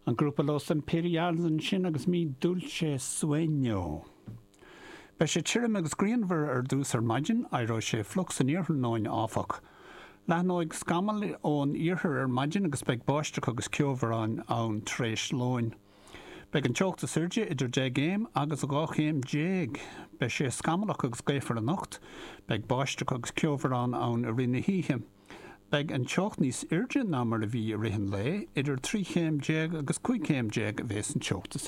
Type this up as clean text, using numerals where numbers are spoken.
An grúpa Los Imperiales ansin agus Mi Dulce Sueño. Beidh sé tirim agus grianmhar ar dtús ar maidin, éireoidh sé fliuch san iarthráthnóna áfach. Leathnóidh scamaill ón iarthar ar maidin agus beidh báisteach agus ceobhráin ann tar éis lóin. Beidh an teocht is airde idir 10 gcéim agus 12 chéim. Beidh sé scamallach agus gaofar anocht. Beidh báisteach agus ceobhrán ann i rith na hoíche. Beidh an teocht níos airde ná mar a bhí i rith an lae, idir 13 chéim agus 15 chéim a bheas an teocht is.